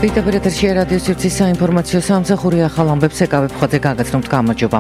Ვიტაბერეთში რადიოს ერთის საინფორმაციო სამსახური ახალ ამბებს ეკავებ ხოთე გაგაცნობთ გამარჯობა.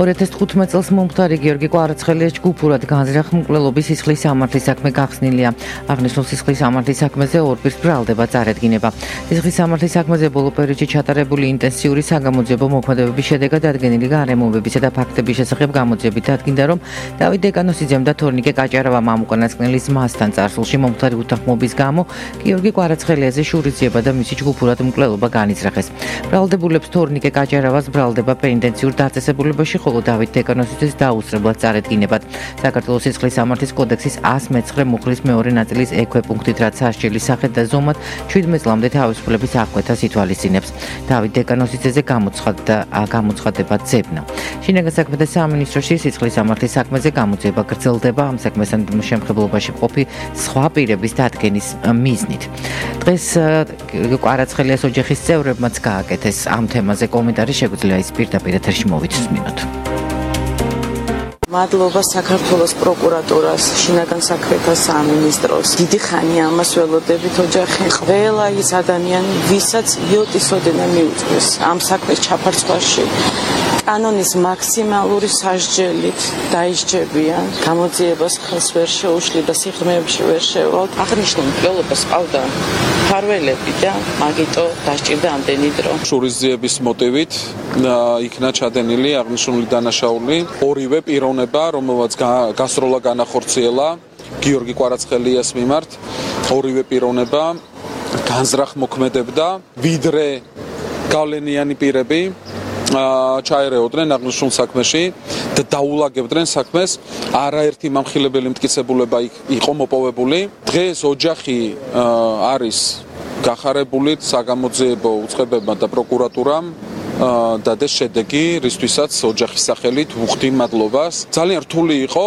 2015 წელს მომხდარი გიორგი კვარაცხელიას ჯგუფურად განზრახ-მკვლელობის სისხლის სამართლის საქმე გახსნილია. აღნიშნულ სისხლის სამართლის საქმეზე ორ პირს ბრალდება წარედგინება. სისხლის სამართლის საქმეზე ბოლო პერიოდში ჩატარებული ინტენსიური საგამოძიებო მოქმედებების შედეგად დადგენილი გარემოებებისა და ფაქტების შესახებ გამოძიებით დადგინდა, რომ დავით დეკანოსიძემ და თორნიკე კაჭარავამ ამ უკანასკნელის მასთან წარსულში მომხდარი უთანხმობის გამო გიორგი კვარაცხელიაზე შურისძიება და მისი ჯგუფურად მკვლელობა განიზრახეს. ბრალდებულებს თორნიკე კაჭარავას ბრალდება პენიტენციურ დაწესებულებაში, ხოლო დავით დეკანოსიძეს დაუსწრებლად წარედგინებად. საქართველოს სისხლის სამართლის კოდექსის 119 მუხლის მეორე ნაწილის ექვე პუნქტით, რაც სასჯელის სახით და ზომად 17 წლამდე თავისუფლების აღკვეთას ითვალისწინებს. დავით დეკანოსიძეზე გამოცხადება ძებნა. შინაგან საქმეთა სამინისტროში სისხლის სამართლის საქმეზე გამოძიება გრძელდება ამ საქმესთან შემხებლობაში მყოფი სხვა პირების დადგენის მიზნით. დღეს კვარაცხელიას ოჯახის წევრებმაც გააკეთეს ამ თემაზე კომენტარი, შეგვიძლია ის პირდაპირ ეთერში მოვიცნოთ. მადლობა საქართველოს პროკურატურას, შინაგან საქმეთა სამინისტროს. დიდი ხანია ამას ველოდებით ოჯახი. ყველა ის ადამიანი, ვისაც იოტის ოდენა მიუწვეს ამ საქმეს ჩაფარცხვაში, კანონის მაქსიმალური სასჯელით დაისჯებიან. გამოძიებას ხელს ვერ შეუშლი და სიღრმეებში ვერ შევალთ. აღნიშნულ მკვლელობას ყავდა ფარველები და მაგიტო დასჭირდა ამდენი დრო. შურისძიების მოტივით იქნა ჩადენილი აღნიშნული დანაშაული. ორივე პიროვნება, რომელსაც გასროლა განახორციელა გიორგი კვარაცხელიას მიმართ, ორივე პიროვნება განზრახ მოქმედებდა, ვიდრე გავლენიანი პირები ჩაერეოდნენ აღნიშნულ საქმეში და დაულაგებდნენ საქმეს. არაერთი მამხილებელი მტკიცებულება იყო მოპოვებული. დღეს ოჯახი არის გახარებული საგამოძიებო უწყებებმა და პროკურატურამ დადეს შედეგი, რისთვისაც ოჯახის სახელით ვუხდი მადლობას. ძალიან რთული იყო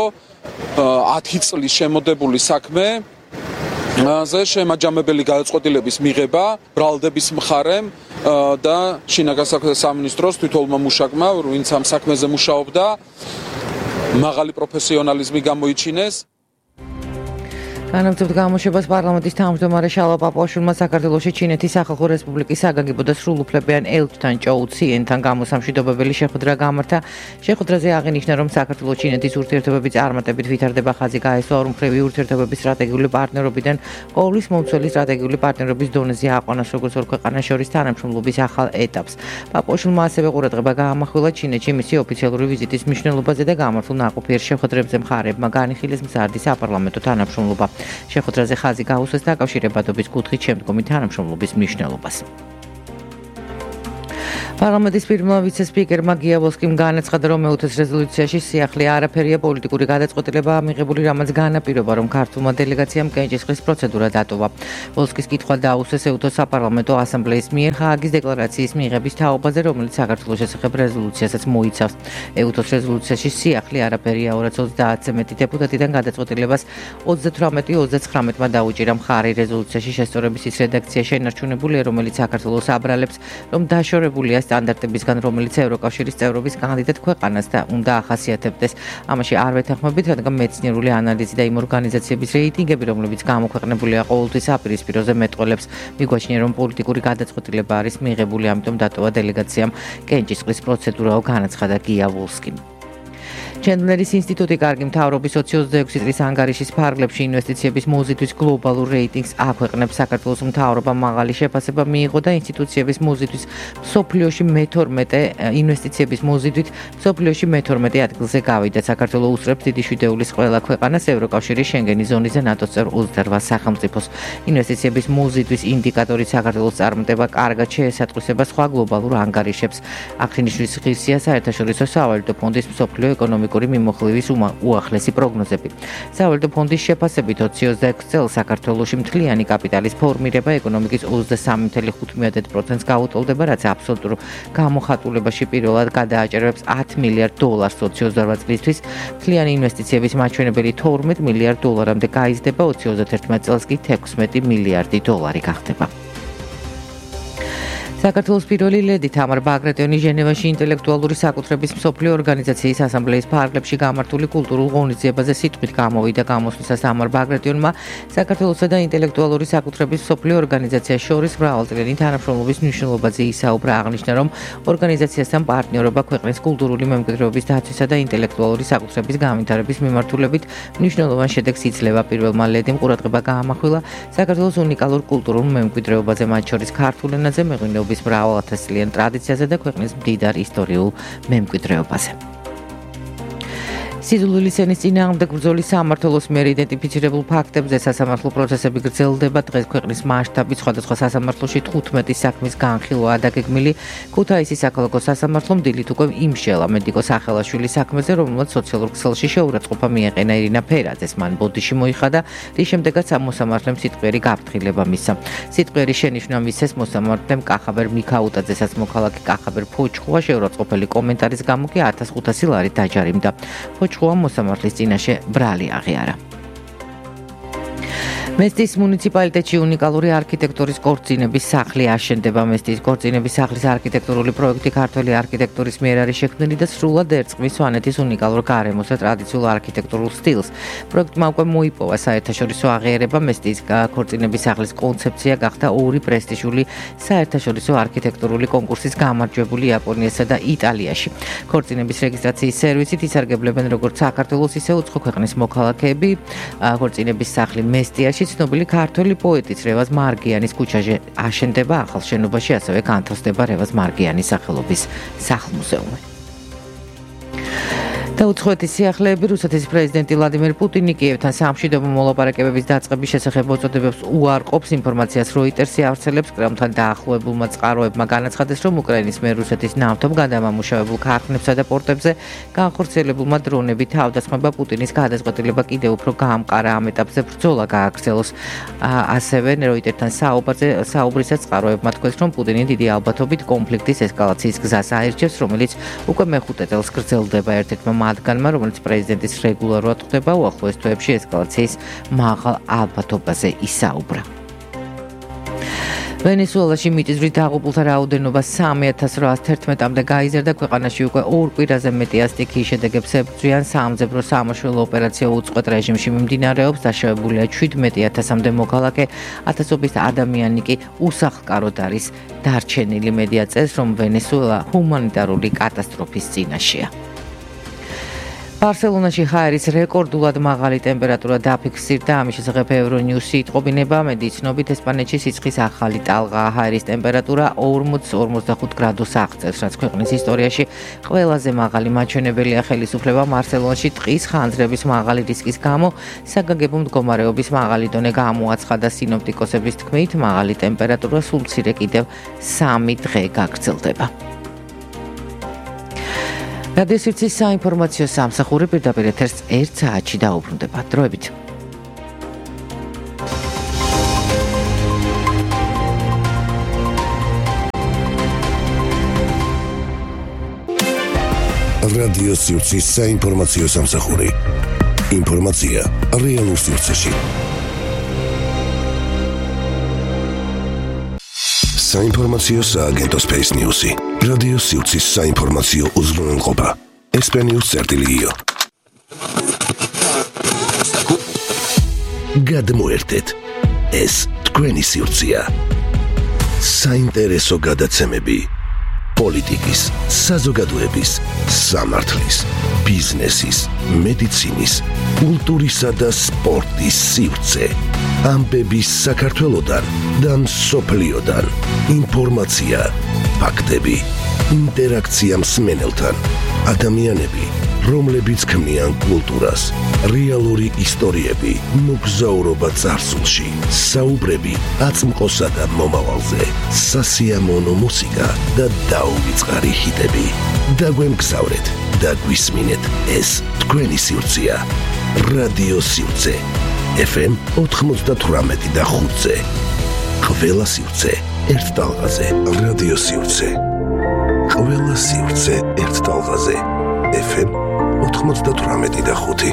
10 წლის შემოდებული საქმე ზე შემაჯამებელი გადაწყვეტილების მიღება ბრალდების მხარემ და შინაგან საქმეთა სამინისტროს თვითონმა მუშაკმა, ვინც ამ საქმეზე მუშაობდა, მაღალი პროფესიონალიზმი გამოიჩინეს. განაგრძობთ გამოშვებას პარლამენტის თავმჯდომარე შალვა პაპუაშვილმა საქართველოში ჩინეთის სახალხო რესპუბლიკის საგანგებო და სრულუფლებიან ელჩთან ჭოუ ციენთან გამოსამშვიდობებელი შეხვედრა გამართა. შეხვედრაზე აღინიშნა, რომ საქართველოს ჩინეთის ურთიერთობების წარმატებით ვითარდება ხაზი გაესვა ორმხრივი ურთიერთობების სტრატეგიული პარტნიორობიდან ყოვლის მომცველი სტრატეგიული პარტნიორობის დონეზე აყვანას როგორც ორ ქვეყანას შორის თანამშრომლობის ახალ ეტაპს. პაპუაშვილმა ასევე ყურადღება გაამახვილა ჩინეთში მისი ოფიციალური ვიზიტის მნიშვნელობაზე და გამართულ ნაყოფიერ შეხვედრებზე მხარეებმა განიხილეს მზარდი საპარლამენტო თანამშრომლობა. შეხვედრაზე ხაზი გაუსვეს დაკავშირებადობის კუთხით შემდგომი თანამშრომლობის მნიშვნელობას. პარლამენტის პირველმა ვიცე-სპიკერმა გიავოლსკიმ განაცხადა, რომ მეუთეს რეზოლუციაში სიახლე არაფერია პოლიტიკური გადაწყვეტილებაა მიღებული, რამაც განაპირობა, რომ ქართულმა დელეგაციამ კენჭისყრის პროცედურა დატოვა. ვოლსკის კითხვა დაუსვეს ეუთოს საპარლამენტო ასამბლეის მიერ ჰააგის დეკლარაციის მიღების თაობაზე, რომელიც საქართველოს შესახებ რეზოლუციასაც მოიცავს. ეუთოს რეზოლუციაში სიახლე არაფერია 230-ზე მეტი დეპუტატიდან გადაწყვეტილებას 38-39-მა დაუჭირა მხარი. რეზოლუციაში შესწორების ის რედაქცია შენარჩუნებულია, რომელიც საქართველოს აბრალებს, რომ დაშორებულია სტანდარტებისგან, რომელიც ევროკავშირის წევრობის კანდიდატ ქვეყანას და უნდა ახასიათებდეს. ამაში არ ვეთანხმებით, რადგან მეცნიერული ანალიზი და იმ ორგანიზაციების რეიტინგები, რომლებიც გამოქვეყნებულია ყოველთვის აპირისპიროზე მეტყველებს, მიგვაჩნია, რომ პოლიტიკური გადაწყვეტილება არის მიღებული, ამიტომ დატოვა დელეგაციამ კენჭისყრის პროცედურაო, განაცხადა გიავოლსკიმ. ჩენდლერის ინსტიტუტი კარგი მთავრობის 2026 წლის ანგარიშის ფარგლებში ინვესტიციების მოზიდვის გლობალურ რეიტინგს აქვეყნებს. საქართველოს მთავრობამ მაღალი შეფასება მიიღო და ინსტიტუციების მოზიდვის მსოფლიოში მე-12 ინვესტიციების მოზიდვით მსოფლიოში მე-12 ადგილზე გავიდა. საქართველოს უსწრებს დიდი შვიდეულის ყველა ქვეყანას ევროკავშირის შენგენის ზონაზე ნატოს წევრ 28 სახელმწიფოს. ინვესტიციების მოზიდვის ინდიკატორით საქართველოს წარმატება კარგად შეესატყვისება სხვა გლობალურ ანგარიშებს. აღნიშნვის ღირსია საერთაშორისო სავალუტო ფონდის მსოფლიო ეკონომიკური მიმოხილვის უახლესი პროგნოზები. სავალუტო ფონდის შეფასებით 2026 წელს საქართველოში მთლიანი კაპიტალის ფორმირება ეკონომიკის 23.5%-ს გაუტოლდება, რაც აბსოლუტურ გამოხატულებაში პირველად გადააჭერებს $10 მილიარდ 2028 წლისთვის. მთლიანი ინვესტიციების მაჩვენებელი $12 მილიარდ მდე გაიზრდება, 2031 წელს კი $16 მილიარდი გახდება. საქართველოს პირველი ლედი თამარ ბაგრატიონი ჟენევაში ინტელექტუალური საკუთრების მსოფლიო ორგანიზაციის ასამბლეის ფარგლებში გამართული კულტურულ ღონისძიებაზე სიტყვით გამოვიდა. გამოსვლისას თამარ ბაგრატიონმა საქართველოსა და ინტელექტუალური საკუთრების მსოფლიო ორგანიზაციას შორის მრავალწლიანი თანამშრომლობის მნიშვნელობაზე ისაუბრა. აღნიშნა, რომ ორგანიზაციასთან პარტნიორობა ქვეყნის კულტურული მემკვიდრეობის დაცვისა და ინტელექტუალური საკუთრების განვითარების მიმართულებით მნიშვნელოვან შედეგს იძლევა. პირველმა ლედიმ ყურადღება გაამახვილა საქართველოს უნიკალურ კულტურულ მემკვიდრეობაზე, მათ შორის ქართულ ენაზე, მეღვინეობის მრავალათასწლიან ტრადიციაზე და ქვეყნის მდიდარ ისტორიულ მემკვიდრეობაზე. სიძულვილის ენის წინააღმდეგ ბრძოლის სამმართველოს მიერ იდენტიფიცირებულ ფაქტებზე სასამართლო პროცესები გრძელდება. დღეს ქვეყნის მასშტაბით სხვადასხვა სასამართლოში 15 საქმის განხილვაა დაგეგმილი. ქუთაისის საქალაქო სასამართლომ დილით უკვე იმშელა მედიკო სახელაშვილის საქმეზე, რომელმაც სოციალურ ქსელში შეურაცხყოფა მიაყენა ირინა ფერაძეს. მან ბოდიში მოიხადა, რის შემდეგაც მოსამართლემ სიტყვიერი გაფრთხილება მისცა. სიტყვიერი შენიშვნა მისცეს მოსამართლემ კახაბერ მიქაუტაძესაც. მოქალაქე კახაბერ ფოჩხუა შეურაცხყოფელი კომენტარის გამო კი 1500 ლარი დაჯარიმდა. მოსამართლის წინაშე ბრალი აღიარა. მესტის მუნიციპალიტეტში უნიკალური არქიტექტურის კორწინების სახლი აშენდება. მესტის კორწინების სახლის არქიტექტურული პროექტი ქართველი არქიტექტურის მიერ არის შექმნილი და სრულად ერწყმის სვანეთის უნიკალურ გარემოს და ტრადიციულ არქიტექტურულ სტილს. პროექტმა უკვე მოიპოვა საერთაშორისო აღიარება. მესტის კორწინების სახლის კონცეფცია გახდა ორი პრესტიჟული საერთაშორისო არქიტექტურული კონკურსის გამარჯვებული იაპონიასა და იტალიაში. ქორწინების რეგისტრაციის სერვისით ისარგებლებენ როგორც საქართველოს, ისე უცხო ქვეყნის მოქალაქეები. ქორწინების სახლი მესტიაში ცნობილი ქართველი პოეტის რევაზ მარგიანის ქუჩაზე აშენდება. ახალ შენობაში ასევე განთავსდება რევაზ მარგიანის სახელობის სახლ-მუზეუმი. დაუცხოეთის სიახლეები რუსეთის პრეზიდენტი ვლადიმერ პუტინი კიევთან სამშვიდობო მოლაპარაკებების დაწყების შესახებ მოწოდებებს უარყოფს. ინფორმაციას როიტერსი ავრცელებს. კრემლთან დაახლოებულმა წყაროებმა განაცხადეს, რომ უკრაინის მიერ რუსეთის ნავთობ გადამამუშავებულ ქარხნებსა და პორტებზე განხორციელებულმა დრონებით თავდასხმება პუტინის გადაწყვეტილება კიდევ უფრო გაამყარა. ამ ეტაპზე ბრძოლა გააგრძელოს. ასევე როიტერთან საუბრისას წყაროებმა თქვეს, რომ პუტინი დიდი ალბათობით კონფლიქტის ესკალაციის გზას აირჩევს, რომელიც უკვე მეხუთე წელს გრძელდება. ერთ-ერთმა მათგანმა, რომელიც პრეზიდენტის რეგულარულად ხვდება, უახლოეს თვეებში ესკალაციის მაღალ ალბათობაზე ისაუბრა. ვენესუელაში მიწისძვრით დაღუპულთა რაოდენობა 3811-მდე გაიზარდა. ქვეყანაში უკვე ორ კვირაზე მეტი ასტიქიის შედეგებს ებრძვიან. საამძებრო სამაშველო ოპერაცია უწყვეტ რეჟიმში მიმდინარეობს. დაშავებულია 17000-მდე მოქალაქე. ათასობით ადამიანი კი უსახლკაროდ არის დარჩენილი. მედია წერს, რომ ვენესუელა ჰუმანიტარული კატასტროფის წინაშეა. ბარსელონაში ჰაერის რეკორდულად მაღალი ტემპერატურა დაფიქსირდა. ამის შესახებ ევრონიუსი იტყობინება. მედიის ცნობით ესპანეთში სიცხის ახალი ტალღა. ჰაერის ტემპერატურა 40-45 გრადუს აღწევს, რაც ქვეყნის ისტორიაში ყველაზე მაღალი მაჩვენებელია. ხელისუფლებამ ბარსელონაში ტყის ხანძრების მაღალი რისკის გამო საგანგებო მდგომარეობის მაღალი დონე გამოაცხადა. სინოპტიკოსების თქმით, მაღალი ტემპერატურა სულ მცირე კიდევ 3 დღე გაგრძელდება. რადიო სივრცის საინფორმაციო სამსახური პირდაპირ ეთერს 1 საათში დაუბრუნდება. დროებით. რადიო სივრცის საინფორმაციო სამსახური. ინფორმაცია რეალურ სივრცეში. საინფორმაციო სააგენტო Space News-ი. რადიო სივრცის საინფორმაციო უზრუნველყოფა. SP-News.io. გადმოერთეთ. ეს თქვენი სივრცეა. საინტერესო გადაცემები. პოლიტიკის, საზოგადოების, სამართლის, ბიზნესის, მედიცინის, კულტურისა და სპორტის სივრცე. ამბები საქართველოდან და მსოფლიოდან. ინფორმაცია, ფაქტები, ინტერაქცია მსმენელთან. ადამიანები, რომლებიც ქმნიან კულტურას, რეალური ისტორიები, მოგზაურობა წარსულში, საუბრები აწმყოსა და მომავალზე, სასიამოვნო მუსიკა და დაუვიწყარი ჰიტები. დაგვემგზავრეთ და გვისმინეთ. ეს თქვენი სივრცეა. რადიო სივრცე. FM 98 და 5-ზე. ყველა სივრცე ერთ ტალღაზე. რადიო სივრცე. ყველა სივრცე ერთ ტალღაზე. FM 98 და 5.